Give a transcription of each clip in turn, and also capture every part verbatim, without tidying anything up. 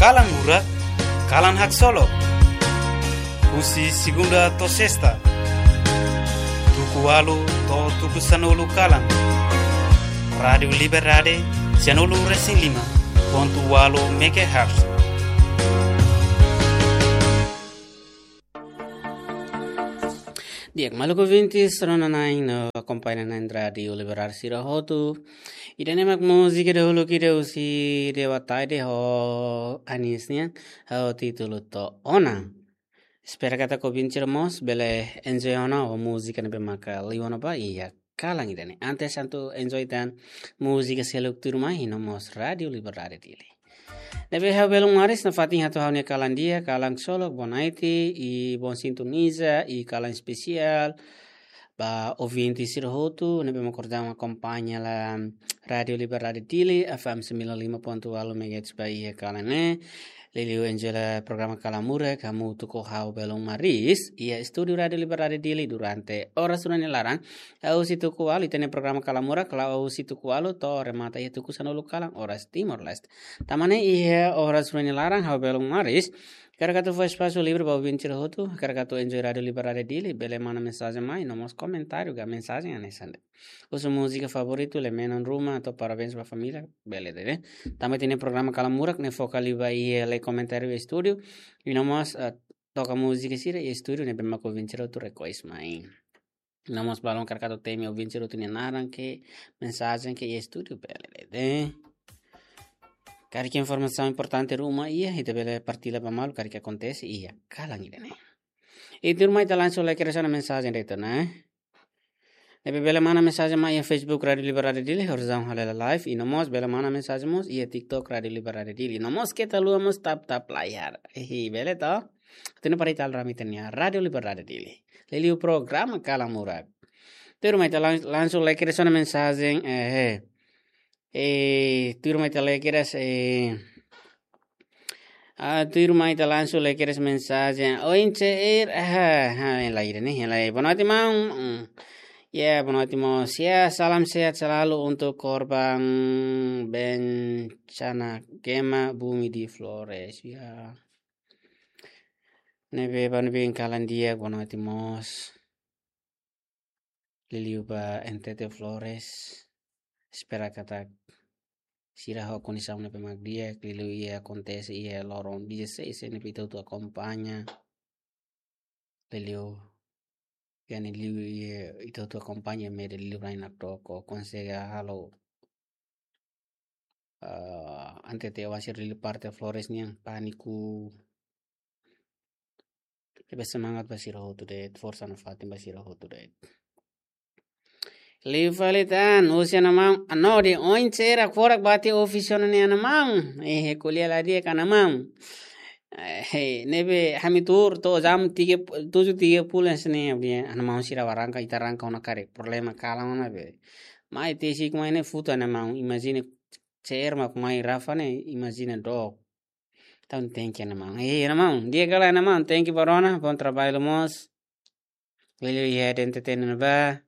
Kalan Murak, kalan haksolok. Husi segunda to'o sesta, tuku ualu to'o tuku sanulu kalan. Rádiu Liberdade, sianulu resin lima pontu ualu megahertz. Di'ak, maluk ouvintes, rona-na'in no akompaña-na'in Rádiu Liberdade sira hotu. Ida-ne'e mak múzika dahuluk ida husi Dewa Taide ho Anis nian, ho títulu To'o Ona. Espera katak ouvinte sira mós bele enjoy ona ho múzika ne'ebé maka liu ona ba iha kalan ida-ne'e. Antes atu enjoy tan múzika seluk tuirmai, iha no mós Rádiu Liberdade Dili. Ne'ebé ha'u Belun Maris nafatin hato'o ha'u-nia kalan di'ak, kalan haksolok, bonaite, i bom sintoniza, i kalan espesiál ba ouvinte sira hotu ne'ebé mak kordang akompaña hela Rádiu Liberdade Dili, F M sembilan lima pontu ualu megahertz ba iha kalan ne'e. Liuliu enjoy hela programa Kalan Murak, hamutuk ho ha'u Belun Maris, iha estúdiu Rádiu Liberdade Dili durante oras rua nia laran. Ha'u husi tuku ualu, ita-nia programa Kalan Murak la'o husi tuku ualu to'o remata iha tuku sanulu kalan, oras Timor-Leste. Tanba ne'e iha oras rua nia laran, ha'u Belun Maris hakarak atu fó espasu livre ba ouvinte sira hotu, hakarak atu enjoy Rádiu Liberdade Dili, bele manda mensajen mai, no mós komentáriu ka mensajen hanesan de'it. Husu múzika favoritu, lemena ruma, atu parabéns ba família, bele de'it, ne'e. Tanba ita-nia programa Kalan Murak ne'e foka liu ba iha lee komentáriu estúdiu, i no mós, eh, toka múzika sira iha estúdiu ne'ebé mak ouvinte sira hotu request mai. No mós balun hakarak atu temi ouvinte sira hotu nia naran ka mensajen ka iha estúdiu, bele de'it, ne'e. Karik informasaun importante ruma iha, ita bele partilla ba malu karik akontese iha kalan ida-ne'e. I tuirmai ita langsung lai kedas ona mensajen de'it ona, eh. Ne'ebé bele manda mensajen mai iha Facebook Rádiu Liberdade Dili, horizon halo hela live, i no mós bele manda mensajen mós iha TikTok Rádiu Liberdade Dili. No mós keta haluha mós tap-tap layar. Hihi, bele to? Atu nune'e para ita rame ita-nia Rádiu Liberdade Dili. Liuliu programa Kalan Murak. Tuirmai ita lang-, langsung lai kedas ona mensajen, eh, eh. Eh, tuirmai ita lai kedas, eh, ah, tuirmai ita langsung lai kedas mensajen. Oin Ceer, ah, ah, yang lain ni, yang lain. Boa noite, maun. Hmm. Ya, boa noite, maun. Ya, salam sehat selalu untuk korban bencana gempa bumi di Flores. Ya. Ne'ebé, ba ne'ebé kalan di'ak, boa noite, mós. Liuliu ba N T T Flores. Espera katak sira ho kondisaun ne'ebé mak di'ak, liuliu iha akontese iha loron dezasseis ne'ebé ita hotu akompaña. Liuliu, yani liu iha ita hotu akompaña mede liuliu rai nakdoko, konsege halo, ah, N T T oan sira liuliu parte Flores nian pániku. Ne'ebé semangat ba sira hotu de'it, forsa nafatin ba sira hotu de'it. Liu fali tan, husi ana maun, ano de oin Ceer hakfodak ba tiha ofísiu ne'e ana maun. Eh, ko'alia la di'ak ka ana maun. Eh, ne'ebé ami tuur to'o jam tiga, tujuh tiga puluh ne'e, ami dehan ana maun sira arranka, ita arranka ona karik. Problema kalan ona be. Mai tesik mai ne'e futa ana maun. Imajina Ceer mak mai Rafa ne'e, imajina dook. Entaun thank you, ana maun. Eh, ana maun, di'ak ka lae, ana maun, thank you ba rona, bom trabalho mós. Liuliu iha N T T ne'ebá,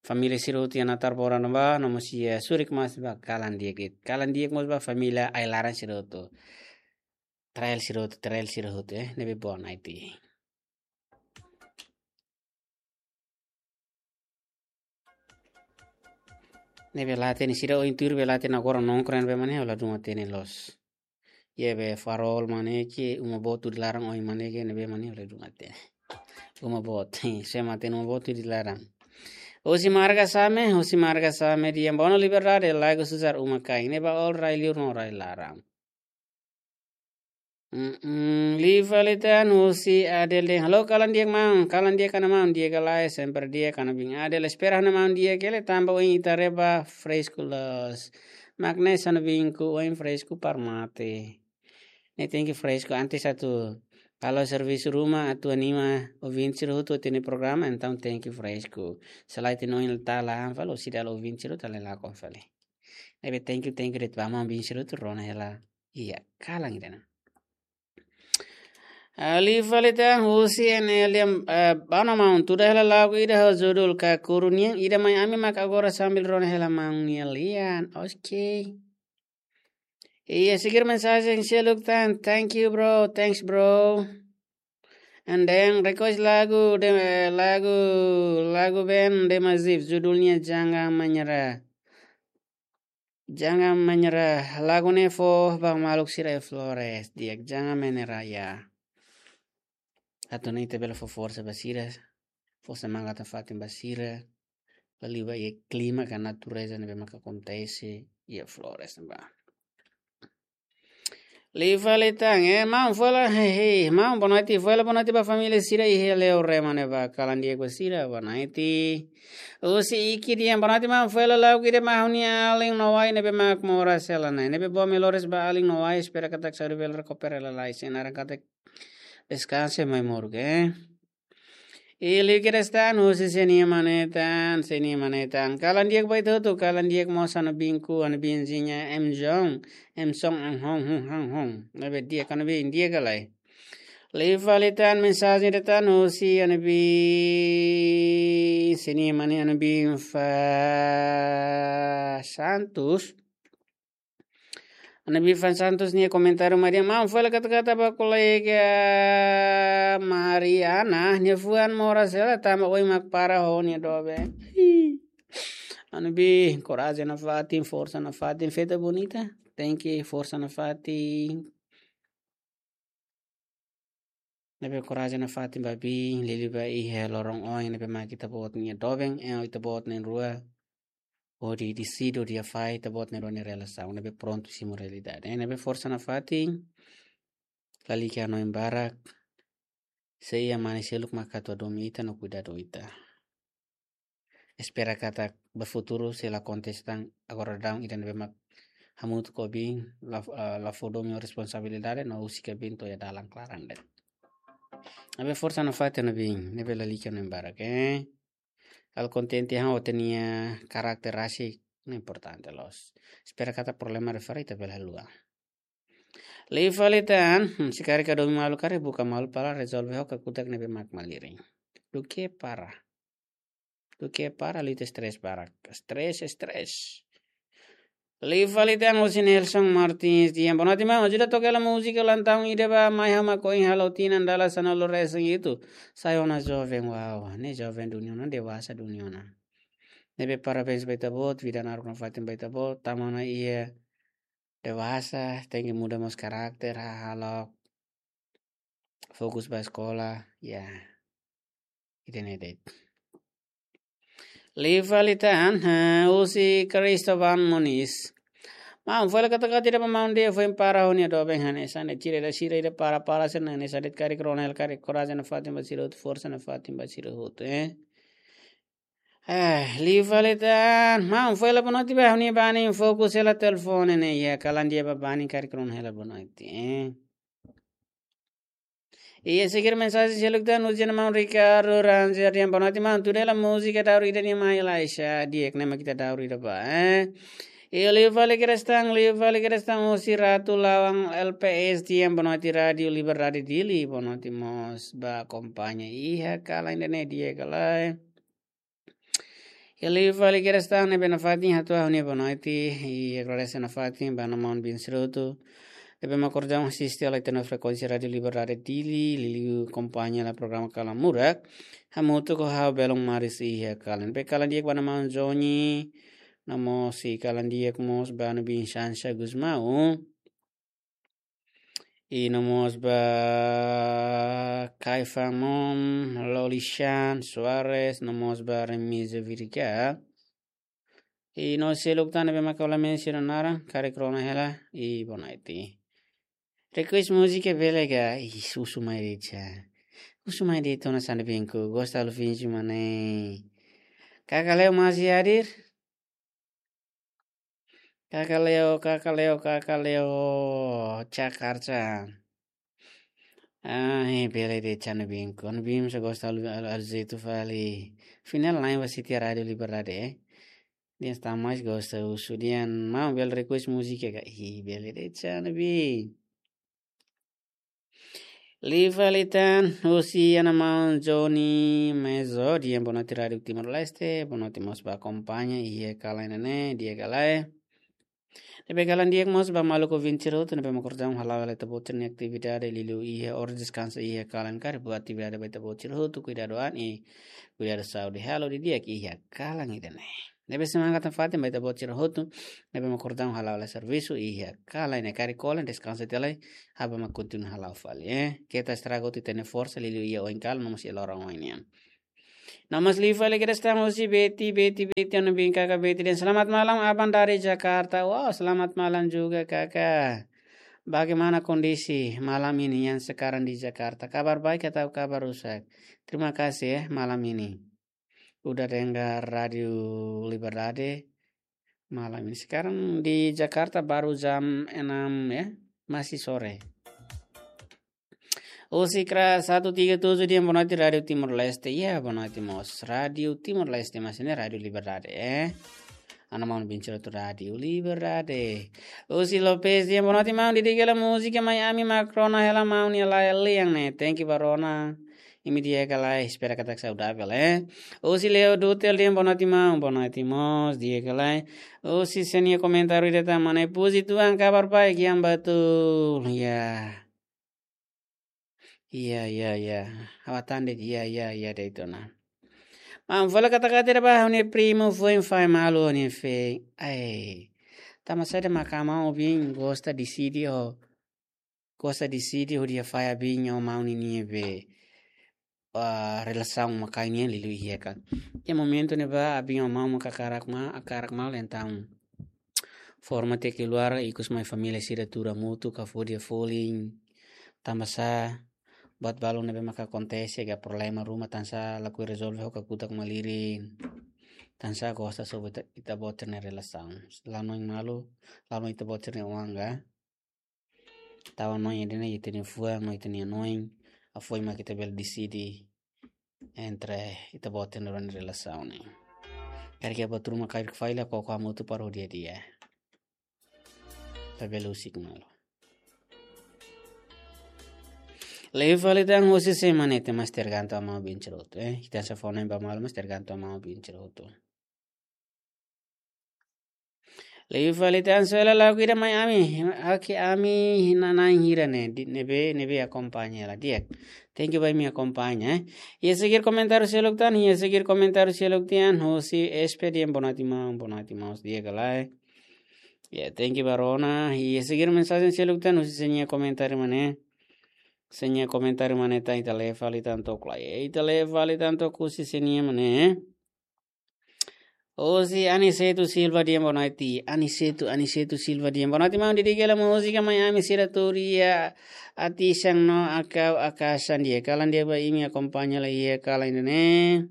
família sira hotu iha Natar Bora ne'ebá, no mós iha Surik mós ba kalan di'ak de'it. Kalan di'ak mós ba família ai-laran sira hotu. Trail sira hotu, trail sira hotu, eh, ne'ebé boa naiti. Ne'ebé la hatene sira oin tuir be la hatene agora nongkrong be mane, la dún hatene loos. Iha be Farol mane ke, Uma Boot tuir laran oin mane ke, ne'ebé mane la dún hatene. Uma Boot, se mate Uma Boot tuir laran. Husi Marga Same, husi Marga Same dehan boa noite Liberdade, lagu susar uma kain. Ne'ebá all rai liur no rai laran. Mm-mm, liu fali tan husi Adel dehan. Halo, kalan di'ak maun, kalan di'ak ka ana maun, di'ak ka lae, sempre di'ak ka ana bin Adel. Espera ona maun di'ak hela tanba oin ita haree ba fresku loos. Mak ne'e sá ona bin ku oin fresku para mate. Ne'e tenke fresku antes atu halo servisu ruma atu anima ouvinte sira hotu hatene programa, entaun tenke fresku. Se lae ita-nia oin la tahan fali, sira la ouvinte sira hotu la lakon fali. Ne'ebé thank you, thank you de'it ba maun bin sira hotu rona hela iha kalan ida-ne'e. Ah, liu fali tan husi N L M, eh, boa noite maun, tuda hela lagu ida ho judul Kakuru nian, ida mai ami mak agora sambil rona hela maun nia lian. Oke. Iha seguir mensajen seluk tan. Thank you, bro. Thanks, bro. And then request lagu de, lagu, lagu band de Mazif, judulnya Jangan Menyerah. Jangan Menyerah. Lagu ne'e fó ba maluk sira iha Flores. Di'ak, Jangan Menyerah, ya. Atu nune'e ita bele fó forsa ba sira, fó semangat nafatin ba sira, liuliu ba iha klima ka natureza ne'ebé maka akontese iha Flores ne'ebá. Liu fali tan, eh, maun, fó hela, hehe, maun, boa noite, fó hela boa noite ba família sira iha Leorema ne'ebá, kalan di'ak ba sira, boa noite. Husi Iki Dian, boa noite, maun, fó hela lagu ida ba ha'u-nia alin Noai ne'ebé mak moras hela ne'e. Ne'ebé boa melhoras ba alin Noai, espera katak saúde bele rekupera lalais, sei naran katak deskansa mai moruk, eh. I liu kedas tan, husi Senia Manetan, Senia Manetan. Kalan di'ak ba ita hotu, kalan di'ak mós ha'u-nia biinku, ha'u-nia biinha M Jong, M Song, ang hong, hong, hong, hong. Ne'ebé di'ak ha'u-nia biin, di'ak ka lae. Liu fali tan, mensajen ida tan, husi ha'u-nia biin, Senia Mane, ha'u-nia biin Fa Santos. Ha'u-nia biin Fa Santos nia komentáriu mai dehan, maun, fó hela kata-kata ba kolega Mariana, nia fuan moras hela tanba oin mak para ho nia doben. Hii. Ha'u-nia biin, korajen nafatin, forsa nafatin, feita bonita. Thank you, forsa nafatin. Ne'ebé korajen nafatin ba biin, liuliu ba iha loron oin ne'ebé mak ita-boot nia doben, eh, ita-boot na'in-rua hodi deside, hodi hafahe ita-boot na'in-rua nia relasaun, ne'ebé prontu simu realidade. Eh, ne'ebé forsa nafatin, lalika hanoin barak, sei iha mane seluk mak atu hadomi ita no kuidadu ita. Espera katak ba futuru se la akontese tan agora daudaun ida ne'ebé mak hamutuk ho biin, la, eh, la fó domin ho responsabilidade no husik biin to'o iha dalan klaran de'it. Ne'ebé forsa nafatin ha'u-nia biin, ne'ebé lalika hanoin barak, eh. Halo kontente ha'u ho ita-nia karakter rasik, ne'e importante loos. Espera katak problema refere ita bele haluha. Liu fali tan, hmm, se karik hadomi malu karik buka malu para rezolve ho kakutak ne'ebé mak malirin. Duké para. Duké para, liu ita estrés barak. Estrés, estrés. Liu fali tan, husi Nelson Martins dehan, boa noite maun, ajuda toka hela múzika ulang tahun ida ba mai ha'u mak ohin halo tinan dala sanulu-resin-hitu. Sai ona joven, wow, ne'e joven duni ona, dewasa duni ona. Ne'ebé parabéns ba ita-boot, vida naruk nafatin ba ita-boot, tama ona iha dewasa, tenke muda mós karakter, hahalok, fokus ba eskola, ya. Ida-ne'e de'it. Liu fali tan, eh, husi Cristovan Moniz. Maun, fó hela kata-kata ida ba maun ida foin para ho nia doben hanesan ne'e, sira ida, sira ida para, para sira hanesan de'it, karik rona hela, karik korajen nafatin ba sira hotu, forsa nafatin ba sira hotu, eh. Eh, liu fali tan, maun, fó hela boa noite ba ha'u-nia banin, fokus hela telefone ne'e, ya, kalan di'ak ba banin, karik rona hela boa noite, eh. Iha seguir mensajen seluk tan, husi ha'u-nia maun Ricardo Ranzer dehan, boa noite maun, tuda hela múzika daur ida nia mai Laisha, di'ak ne'e mak ita daur ida ba, eh. Iha liu fali kedas tan, liu fali kedas tan, husi Ratu Lawang L P S dehan, boa noite Rádiu Liberdade Dili, boa noite mós ba akompaña iha kalan ida-ne'e, di'ak ka lae. Iha liu fali kedas tan, ne'ebé nafatin hato'o ha'u-nia boa noite, i agradese nafatin ba ha'u-nia maun biin sira hotu ne'ebé mak ohin daudaun asiste hela ita-nia frekuénsia Rádiu Liberdade Dili, liuliu akompaña hela programa Kalan Murak, hamutuk ho ha'u Belon Maris iha kalan. Ne'ebé kalan di'ak ba ha'u-nia maun Johnny, no mós sei kalan di'ak mós ba ha'u-nia biin Shansha Gusmão. I no mós ba Kaifamon, Lolishan Soares, no mós ba Remísio Virga. I no seluk tan ne'ebé maka la mensiona naran, karik rona hela, i boa noite. Request múzika bele ka, ih, husu mai de'it. Husu mai de'it ona sande binku, gosta halo finji mane. Kakaleo masih hadir? Kakaleo, Kakaleo, Kakaleo, Jakarta. Ah, eh, bele de'it ha'u-nia biin. Ha'u-nia biin só gosta halo, halo, halo jeitu fali. Final lain ba siti Rádiu Liberdade, eh. Dehan ita mais gosta husu dehan maun bele request múzika ka. Ih, bele de'it ha'u-nia biin. Liu fali tan, husi ha'u-nia maun Johnny Mezo, dehan boa noite Rádiu Timor-Leste, boa noite mós ba akompaña iha kalan ida-ne'e, di'ak ka lae. Ne'ebé kalan di'ak mós ba maluk ouvinte sira hotu ne'ebé mak orsida hala'o hela ita-boot sira-nia atividade liuliu iha oras deskansa iha kalan karik buat atividade ba ita-boot sira hotu kuidadu an i kuidadu saúde halo didi'ak iha kalan ida-ne'e. Ne'ebé semangat nafatin ba ita-boot sira hotu ne'ebé mak orsida hala'o hela servisu iha kalan ne'e karik kolen deskansa tiha lai ha'u mak kontinua hala'o fali, eh. Keta estraga hotu ita-nia forsa liuliu iha oin kalan no mós iha loron oin nian. No mós liu fali kedas tan husi Betty, Betty, Betty, anu bin kaka Betty dehan selamat malam, abang dari Jakarta. Wow, selamat malam juga, kakak. Bagaimana kondisi malam ini yang sekarang di Jakarta? Kabar baik atau kabar rusak? Terima kasih ya, malam ini. Udah dengar Radio Liberdade malam ini. Sekarang di Jakarta baru jam enam ya, masih sore. Husi Kra satu tiga tujuh dehan boa noite Rádio Timor-Leste. Iya, boa noite mós. Rádio Timor-Leste, mas ne'e Rádio Liberdade, eh. Ana maun bin sira hotu Rádio Liberdade. Husi Lopez dehan boa noite maun, di'ak hela múzika mai ami mak rona hela maun nia laiha lian ne'e. Thank you ba rona. Imi di'ak ka lae, espera katak saudavel, eh. Husi Leo Dutel dehan boa noite maun, boa noite mós, di'ak ka lae. Husi sira-nia komentáriu ida tan mak ne'e puji Tuhan kabar baik yang betul. Ya. Iya, iya, iya. Ha'u hatán de'it, iya, iya, iya, de'it ona. Maun fali katak katak ba ha'u-nia primu foin fai malu ha'u-nia feen. Ai. Tanba saida mak maun bin gosta deside ho, gosta deside hodi fai abin ho maun ninia be, ah, relasaun mak ne'e liuliu iha kan. Iha momentu ne'ebá abin ho maun mak hakarak ma-, hakarak malu entaun forma tiha keluar ikus mai família sira tuur hamutuk ka fó dia folin. Tanba sá buat balu ne'ebé maka akontese ka problema ruma tansá lakohi rezolve ho kakutak malirin. Tansá gosta sobu ita, ita-boot sira-nia relasaun. Lanoin malu, lanoin ita-boot sira-nia oan ka. Tau hanoin ida-ne'e ita-nia fuan no ita-nia hanoin. Hafoin mak ita bele deside entre ita-boot sira-nia relasaun ne'e. Karik iha buat ruma karik falla koko hamutuk para o dia-dia. Labele husik malu. Liu fali tan husi sé mak ne'e, ita mós tergantung ba maun bin sira hotu, eh. Ita sei fó hanoin ba malu mós tergantung ba maun bin sira hotu. Liu fali tan sela lagu ida mai ami, oke ami nanain hira ne'e, di, ne'ebé, ne'ebé akompaña hela di'ak. Thank you ba imi akompaña, eh. Iha seguir komentáriu seluk tan, iha seguir komentáriu seluk tan, husi S P dehan boa noite maun, boa noite maun, di'ak ka lae. Ya, thank you ba rona. Iha seguir mensajen seluk tan, husi sira-nia komentáriu mak ne'e. Sira-nia komentáriu mak ne'e tan ita lee fali tan took lai. Ita lee fali tan took husi sira-nia mak ne'e. Husi Aniceto Silva dehan boa noite. Aniceto, Aniceto Silva dehan boa noite. Maun di'ak hela múzika mai ami sira tuur iha atisan no akau akasan di'ak. Kalan di'ak ba imi akompaña hela iha kalan ida-ne'e.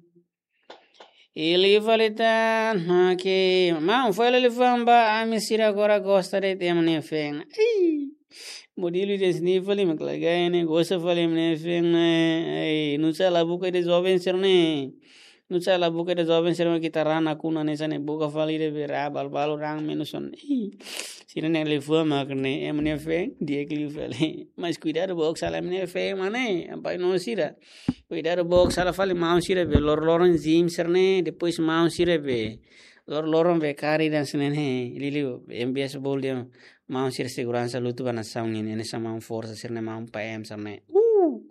I liu fali tan, oke. Maun fó hela liafuan ba ami sira agora gosta de'it ema nia feen. Ei. Modelu ida-ne'e fali mak lagai ne'e, gosta fali ema nia feen ne'e. Ei, nusá la buka ida joven sira-ne'e. Nusá la buka ida joven sira-ne'e mak ita rana kuna ne'e sá ne'e buka fali ida be ra balu-balu raan menus on. Ei. Sira-ne'e liafuan mak ne'e, ema nia feen, di'ak liu fali. Mas kuidadu book sala ema nia feen mak ne'e, ampai no sira. Kuidadu book sala fali maun sira be lor-loron gym sira-ne'e, depois maun sira be lor-loron be kari dan sira-ne'e, liuliu, M B S bol dia, maun sira seguransa lutu ba nasaun nian, ne'e sá maun forsa sira-ne'e maun P M sira-ne'e. Uh,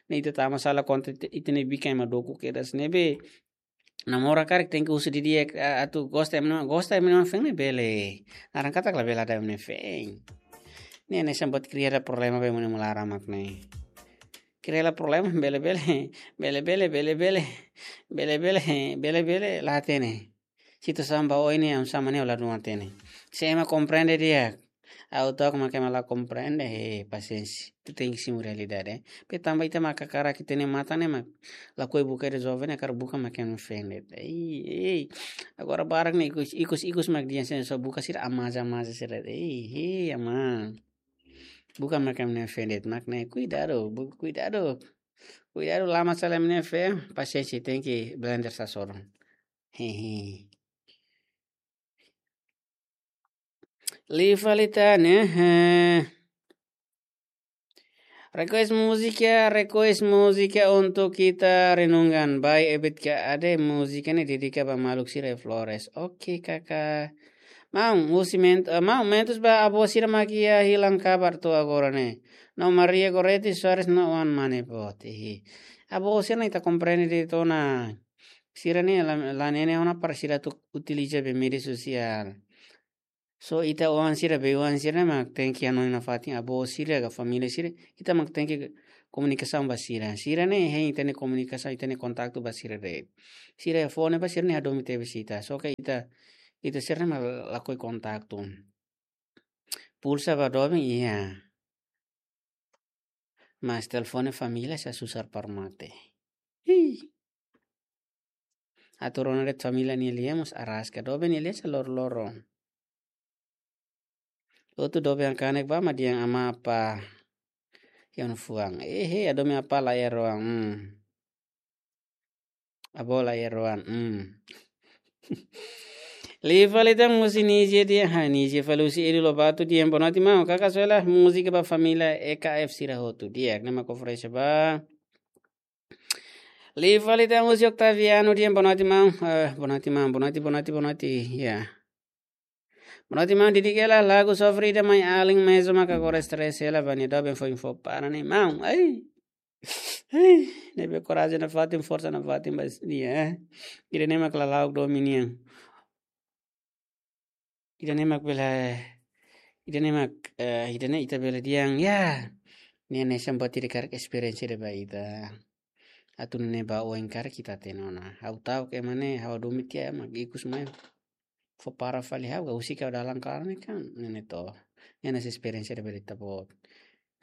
ne'e ita tama sala konta ita, ita-nia bikan ema doku kedas ne'ebé. Namora karik tenke husu didi'ak, a, atu gosta ema nia, gosta ema nia feen ne'e bele. Naran katak labele dada ema nia feen. Ne'e hanesan buat kria problema ba ema nia laran mak ne'e. Kria problema bele-bele, bele-bele, bele-bele, bele-bele, bele-bele, la hatene. Situasaun ba oin ne'e, oinsá mak ne'e, la hatene. Se ema komprende di'ak. Ha'u took mak ema la komprende, he, pasiénsia. Ita tenke simu realidade, eh. Be tanba ita mak hakarak ita-nia matan ne'e mak lakohi buka ida joven ne'e hakarak buka mak ema nia feen de'it. Ei, ei. Agora barak ne'e ikus, ikus, ikus mak dehan sira só buka sira amaza, amaza sira. Ei, ei, ama. Buka mak ema nia feen de'it mak ne'e. Kuidadu, bu-, kuidadu. Kuidadu lama sala ema nia feen, pasiénsia tenke blender sasoron. Hehe. Liu fali tan ne'e, eh. Request música, request música untuk kita renungkan. Baik, Ebit ka ade múzika ne'e dedika ba maluk sira Flores. Oke, kakak. Maun, husi ment-, eh, maun, mentus ba avó sira mak iha hilang kabar to'o agora ne'e. No Maria Goretti Soares no wan mane boot. Ihi. Avó sira ne'e ita komprende de'it ona. Sira ne'e la, la nene ona para sira atu utiliza be média sosiál. So ita oan sira be oan sira ne'e mak tenke hanoin nafatin avó sira ka família sira. Ita mak tenke komunikasaun ba sira. Sira ne'e hein ita-nia komunikasaun, ita-nia kontaktu ba sira de'it. Sira fó ne'e ba sira ne'e hadomi tebes ita. So ke ita, ita sira ne'e mak lakohi kontaktu. Pulsa ba doben iha. Mas telefone família sa susar para mate. Hi. Atu rona de'it família nia lian mós araska, doben nia lian sa loro-loro. Hotu doben kanek ba mak dehan amá apá iha ona fuan. Ehe, hadomi apá la iha rohan. Hmm. Avó la iha rohan. Hmm. Liu fali tan husi Nizia dehan, ha, Nizia fali husi Edu Lobato dehan, boa noite maun. Kaka Suela, múzika ba família E K F sira hotu. Di'ak, ne'e mak oferese ba. Liu fali tan husi Octaviano dehan, boa noite maun. Eh, boa noite maun, boa noite, boa noite, boa noite. Ya. Boa noite maun, didik hela lagu sofre ida mai alin mezu maka agora stress hela ba nia doben foin fó para ne'e maun. Ai. Ai, ne'ebé korajen nafatin, forsa nafatin ba nia, eh. Ida-ne'e mak lala'ok domin nian. Ida-ne'e mak bele, ida-ne'e mak, eh, ida-ne'e ita bele dehan, ya. Ne'e hanesan buat ida karik experience ida ba ita. Atu nune'e ba oin karik ita hatene ona. Ha'u ta'uk ema ne'e, ha'u hadomi tiha mak ikus mai fó para fali ha'u, ka husik ha'u dalan klaran ne'e kan, ne'e ne'e to. Ne'e hanesan experience ida ba ita boot.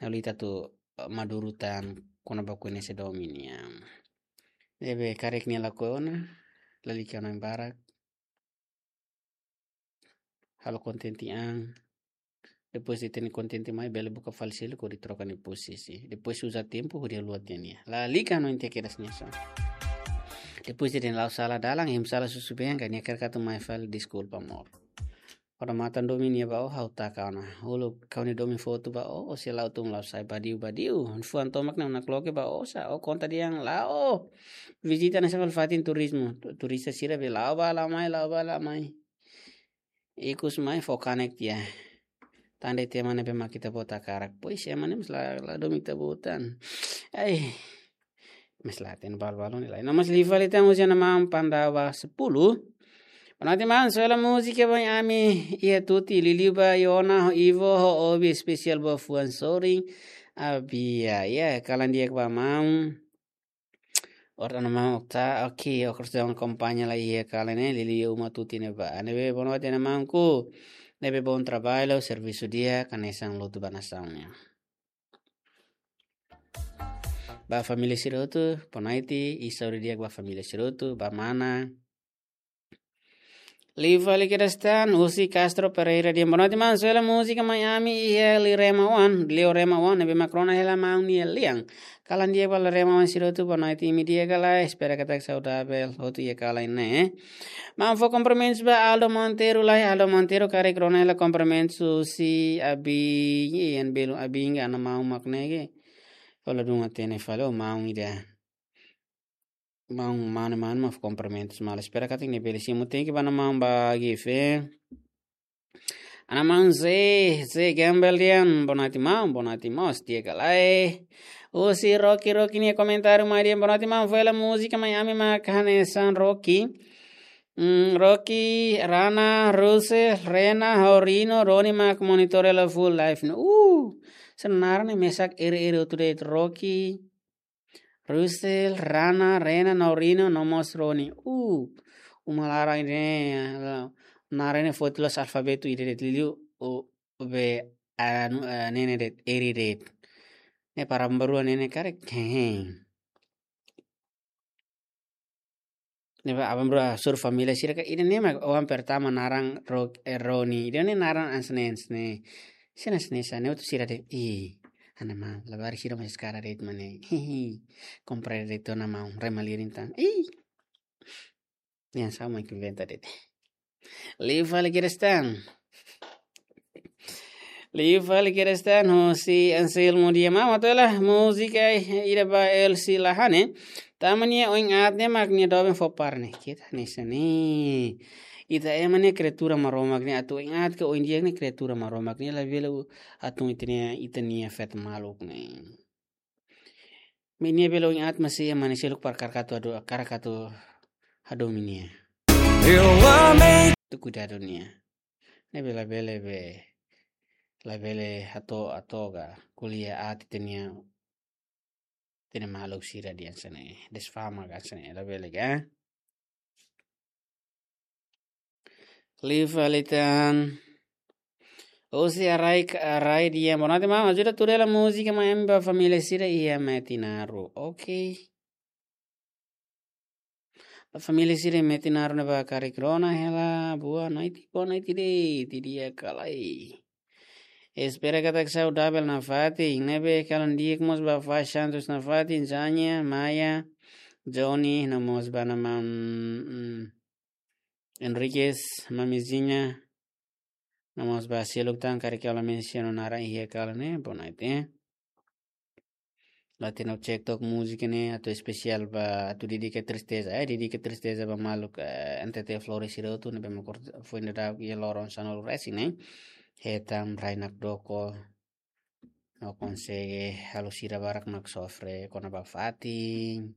Halo ita atu, eh, maduru tan kona-ba koñese domin nian. Ne'ebé karik nia lakohi ona, lalika ona barak. Halo kontente an. Depois de hatene kontente mai, bele buka fali seluk hodi troka nia posisi. Depois uza tempu hodi haluha tiha nia. Lalika no inte kedas nia sa. Depois de hatene la'o sala dalan, hem sala susubeen ka nia kaer katu mai fali deskulpa amor. Ora matan domin nia ba ó ha'u taka ona. Uluk ha'u-nia domin fotu ba ó, ó sei la'o tun la'o sai badiu badiu. Fuan tomak ne'e ona kloke ba ó sa, ó konta dehan la'o. Vizita hanesan fali fatin turizmu. Tu-, turista sira be la'o bá la'o mai, la'o bá la'o mai. Ikus mai fó kanek tiha. Tan de'it ema ne'ebé mak ita-boot hakarak. Pois ema ne'e mós la, la domin ita-boot tan. Ai. Mas la hatene balu-balu ne'e lai. No mas liu fali tan husi Ana Maun Pandawa sepuluh. Boa noite maun, Suela múzika ba ami iha Tuti, liuliu ba Yona ho Ivo ho Obi, espesiál ba fuan sorin. Abia, ya, kalan di'ak ba maun. Ora Ana Maun Okta, oke, oke, sudah akompaña lai iha kalan ne'e, liuliu uma Tuti ne'ebá. Ne'ebé boa noite Ana Maunku. Ne'ebé bom trabalho, servisu di'ak, hanesan lutu ba nasaun nian. Ba família sira hotu, boa noite, i saúde di'ak ba família sira hotu, ba mana. Liu fali kedas tan, husi Castro Pereira dehan, boa noite maun, Suela múzika mai ami iha Lirema One, Lirema One, ne'ebé mak rona hela maun nia lian. Kalan di'ak ba Lirema One sira hotu, boa noite, imi di'ak ka lae, espera katak saudavel, hotu iha kalan ne'e. Maun fó kumprimentus ba Aldo Monteiro lai, Aldo Monteiro karik rona hela kumprimentus husi Abing, ian belu Abing, Ana Maun mak ne'e. Ó la dún hatene fali, ó maun ida. Maun, maun, maun, maun, kumprimentus malu. Espera katak nia bele simu, tenke ba Ana Maun ba Gife. Ana Maun Zé, Zé Gambel dehan, boa noite maun, boa noite mós, di'ak ka lae. Husi Rocky, Rocky nia komentáriu mai dehan, boa noite maun, Suela múzika mai ami mak hanesan Rocky. Hmm, Rocky, Rana, Ruse, Rena, Horino, Roni mak monitor hela full live ne'e. Uh, sira naran ne'e mesak iri-iri hotu de'it Rocky. Rusel, Rana, Rena, Norino, no mós Roni. Uh, uma laran ne'e, naran ne'e foti loos alfabetu ida de'it liuliu, u, be, anu, eh, ne'e ne'e de'it, iri de'it. Ne'e para aban-bainrua ne'e ne'e karik, hehe. Ne'ebé aban-bainrua hasoru família sira ka, ida-ne'e mak oan pertama naran Ro-, eh, Roni. Ida-ne'e naran hanesan ne'e, hanesan ne'e. Hanesan ne'e, hanesan ne'e, hotu sira dehan, ih, Ana Maun, labarik sira mai eskara de'it mak ne'e. Hihi, kompre de'it Ana Maun, rema lirin tan. Ih. Ne'e hanesan maun ke inventa de'it. Liu fali kedas tan. Liu fali kedas tan, husi Anselmo dehan, maun, atu hela múzika ida ba Elsi Lahane. Tama nia oin aat ne'e mak nia doben fó para ne'e. Keta hanesan ne'e. Ita ema ne'e kriatura Maromak nian, atu oin aat ka oin di'ak ne'e kriatura Maromak nian, labele atu ita-nia, ita-nia feto maluk ne'e. Mak nia bele oin aat, maibé ema ne'e seluk para karik atu hado-, karik atu hadomi nia. Atu kuidadu nia. Ne'ebé labele be, labele hato'o, hato'o ka ko'alia aat ita-nia, ita-nia maluk sira dehan hanesan ne'e, desfama ka hanesan ne'e, labele ka. Lifa litan. Osi arai, arai dia. Boa noite, maun. Ajuda tuur hela múzika, maun, ba família sira iha Metinaro. Oke. Ba família sira Metinaro ne'ebé karik rona hela. Boa noite, boa noite de'it, di'ak ka lae. Espera katak saudavel nafatin, ne'ebé kalan di'ak mós ba Faz Santos nafatin, Zanya, Maya, Johnny, no mós ba maun, mm, Enriquez, mamizinha, no mós ba seluk tan karik ha'u la mensiona naran iha kalan ne'e, boa noite. Latino cek tok múzika ne'e atu espesiál ba atu dedika tristeza, eh, dedika tristeza ba maluk, eh, N T T Flores sira hotu ne'ebé mak foin daudauk iha loron sanulu resin ne'e. Hetan rai nakdoko. No konsege halo sira barak mak sofre kona-ba fatin,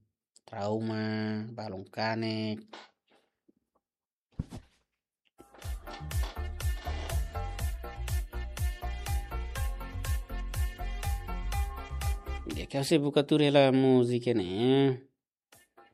trauma, balun kanek. Di'ak, ha'u sei buka tuur hela múzika ne'e.